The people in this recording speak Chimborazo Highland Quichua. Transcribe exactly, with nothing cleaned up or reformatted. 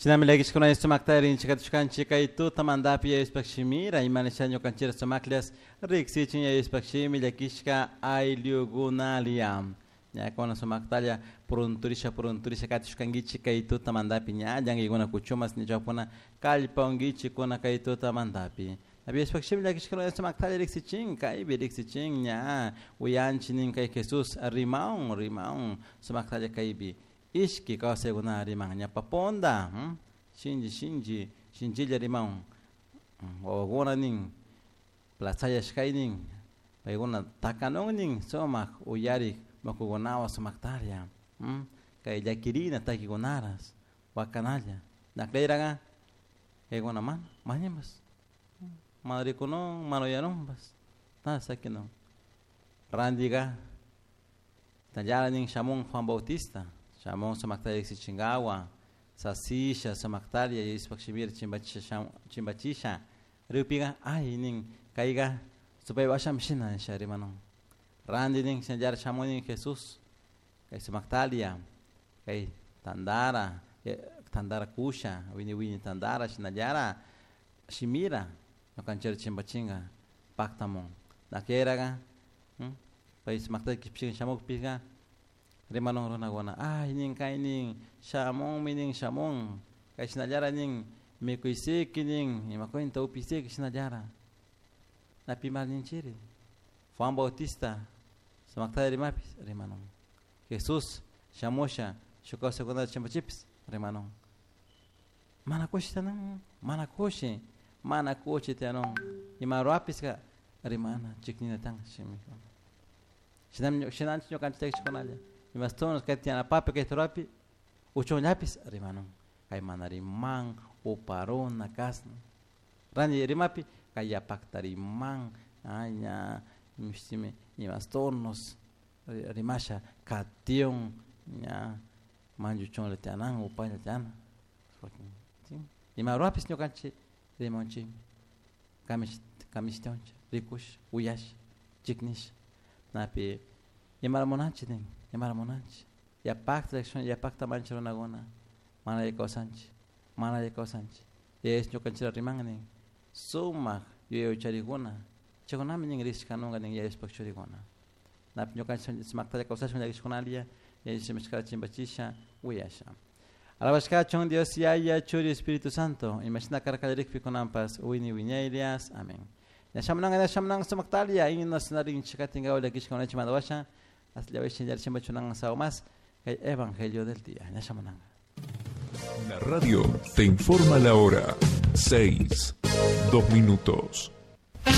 Shinami llakishkuna sumakta rinchikatushkanchik kay tutamantapi yayushpak shimira imanisha ñukanchik sumaklas riksichin yayushpak shimi llakishka ayllukunalia. Ñakuna sumaktalla purunturisha purunturisha katishkankichik kay tutamantapi ña llankikuna kuchumas ñachawpuna kallpankichikuna kay tutamantapi. Yayushpak shimi llakishkuna sumaktalla riksichin kaypi riksichin ña uyanchik nin kay Jesús rimaun rimaun sumaktalla kaypi. Ishki kawsaykuna riman ñapaponda hmm? Shinchi shinchi shinchilla riman wawakuna nin plazayashkay nin paykuna takanun nin sumak uyarik makukunawan sumaktarlla hmm? Kay llakirina takikunaras wakanalla nakleraqa kaykuna mana mañanpas mana rikunun mana uyanunpas nada sakinun randiqa tallara nin shamun Juan Bautista Shamon sumaktaria riksichinkawa sasisha sumaktaria yayushpak shimira chimbachisha chimbachisha rikpiqa ay nin kayqa supay washami shina nisha rimanun ranti nin shinallara shamun nin Jesús kay sumaktaria kay tantara tantara kusha wini wini tantara shinallara shimira ñukanchikta chimbachinka paktamun nakeraqa pay sumaktaria kishpishka shamukpika rimanun runakuna ay nin kay nin shamunmi nin shamun kay shinallara nin mikuysiki nin imakunta upisiki shinallara napimal ninchiri Juan Bautista sumaktalla rimapis rimanun Jesús shamusha shuk kawsaykunata chimpachipis rimanun mana kushi tiyanun mana kushi mana kushi tiyanun ima ruwapiska rimana chiknina tiyan shimikuna shinami shinanchik ñukanchik llakichikunalla imastunas kay tiyanapapi kay ruwapi uchunllapis rimanun kay mana riman uparuna kasna ranti rimapi kay yapakta riman ay ña imashitimi imasturnos rimasha katiun ña manchuchunlla tiyanan upalla tiyana ima ruwapis ñukanchik rimanchikmi kamish kamishtiwanchik rikush uyash chiknish napi imara munanchik nin imara munanchik yapakta yapakta manchik runakuna mana alli kawsanchik mana alli kawsanchik yayas ñukanchikta riman nin sumak yuyaycharikuna chaykunami nin rishkanunka nin yayashpak churikuna napi ñukanchik sumaktalla kawsashun llakishkunalla yayashimashkata chimpachisha uyasha. Alabashkachun Dios Yaya Churi Espíritu Santo imashina karkallarikpi kunanpas wini wiñaylias amén. Ñashamunanka ñashamunanka sumaktalia himnos narinchikatinkawa llakishka mandawasha más el Evangelio del día. La radio te informa la hora. Seis, dos minutos.